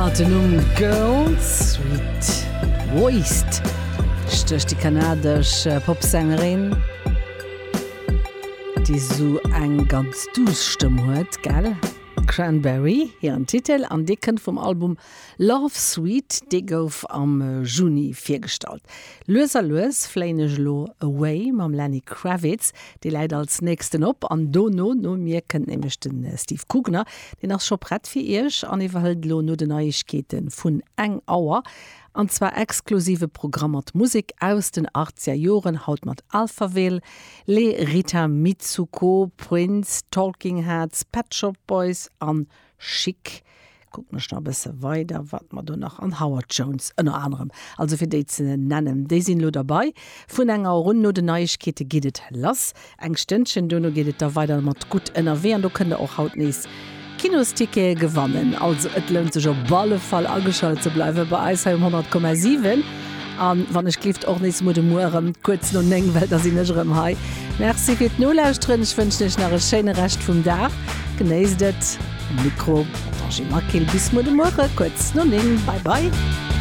Mat den Numm Girl Sweet Waste stécht déi kanadesch Popsängerin, déi sou eng ganz duuss Stëmm huet, gell? Cranberry hiren Titel an dee kënnt vum Album Love Suite, dee gouf am Juni virgestallt. Lues a lues fléien ech elo away mam Lenny Kravitz, dee läit als nächsten op an dono, no mir, kënnt nämlech de Steve Kugner, deen ass scho prett fir iech an iwwerhëlt elo no den Neiegkeete vun eng Auer an zwar exklusive Programm mat Musek aus den Achtzeger Joren, haut mat Alphaville, Les Rita Mitsouko, Prince, Talking Heads, Pet Shop Boys an Chic. Kucken ech nach e bësse weider, wat mer do nach, an Howard Jones ënner anerem, also fir déi ze nennen, déi sinn elo derbei. Vun enger Auer un, no den Neiegkeete geet et lass. Eng Stënnchen dono geet et da weider mat Gutt ënnerwee an do kënnt der och haut nees Kinostickete gewannen. Also et lount sech op alle Fall ageschalt ze bleiwe bei eis hei um 100,7 an wann ech gleeft och nees muer de Muer erëm kuerz no 9, well da sinn ech erëm hei. Merci fir d'Nolauschteren, ech wënschen iech nach e schéine Rescht vum Dag. Genéisst et. Um Mikro d'Angie Maquil. Bis muer de Muere kuerz no 9. Bye bye.